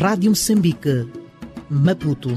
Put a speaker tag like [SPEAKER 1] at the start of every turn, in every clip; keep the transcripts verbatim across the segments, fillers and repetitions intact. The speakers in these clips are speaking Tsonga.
[SPEAKER 1] Rádio Moçambique, Maputo.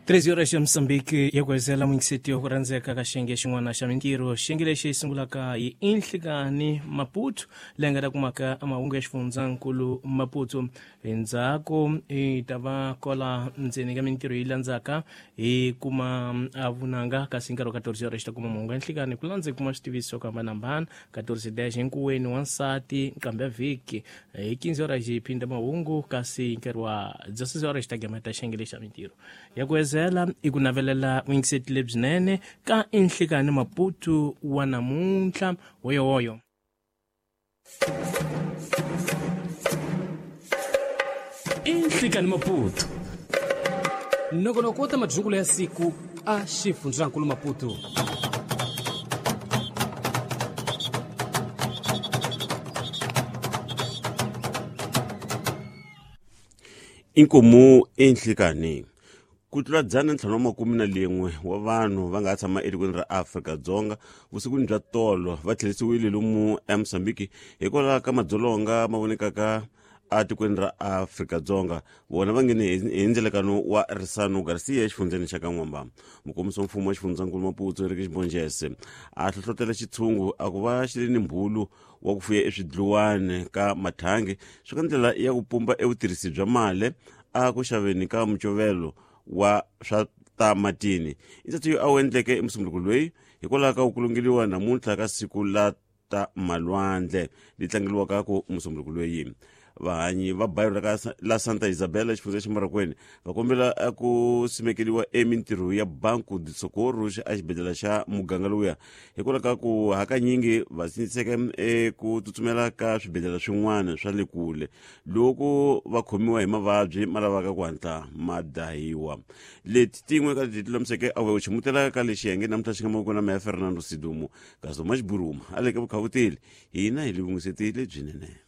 [SPEAKER 2] treze horas ya Moçambique ya kuwezela mwingiseti wa kurandzeka ka xiyenge xin'wana xa mintirho. Xiyenge lexi sungulaka hi Inhlikani Maputo leyi nga ta kumaka mahungu ya xifundzankulu Maputo. Endzhaku hi ta va kola ndzeni ka mintirho yi landzaka hi kuma vunanga, kasi nkarhi wa quatorze horas ta kuma mahungu ya Nhlikani ku landza hi kuma switiviso swo hambanahambana. quatorze dez hinkuweni wansati nkambe ya vhiki hi quinze horas hi phinda mahungu, kasi nkarhi wa dezesseis horas ta gameta xiyenge lexi xa mintirho ya kuwezela i ku navelela vuyingiseti lebyinene ka Inhlikani Maputo wa namuntlha. Hoyohoyo.
[SPEAKER 3] Inhlikani Maputo, nongonoko wa ta madyungulo ya siku a xifundzankulu Maputo.
[SPEAKER 4] Inkomu Inhlikani. Ku tlula dzana ntlhanu wa makume na lin'we wa vanhu va nga tshama etikweni ra Afrika-Dzonga vusikwini bya tolo va tlherisiwile lomu eMozambique hikwalaho ka madzolonga ma vonekaka etikweni ra Afrika-Dzonga. Vona va nghene hi ndzelekano wa Risano Garcia exifundzeni xa ka N'wamba. Mukombisi wa mfumo wa xifundzankulu Maputo Eric Xibonjese a hlohlotela xitshungu a ku va xi ri ni mbhulu wa ku fuya eswidluwani ka mathangi swi ka ndlela ya ku pumba evutirhisi bya mali a ku xaveni ka mucovelo wa swa ta matini. Intsatso yo a wu endleke emusumbunuko loyi hikwalaho ka ku kulungeliwa namuntlha ka siku la ta malwandle li tlangeliwaka ku musumbunuko loyi. Vahanyi va bayiro la, la Santa Isabela xifundza xa Marokweni va kombela ku simekeliwa emintirho ya Banco de Socorro a xibedhlele xa muganga lowuya hikwalaho ka ku hakanyingi va sindziseka eku tsutsumela ka swibedhlele swin'wana swa le kule loko va khomiwa hi mavabyi ma lavaka ku hatla ma dahiwa. Leti tin'we ka leti lulamiseke a wu ximutela ka lexi xiyenge namuntlha xi nga mavoko na meya Fernando Sidumo kasi Thomas Buruma a le ka vukhavuteli hina hi le vungiseti lebyinene.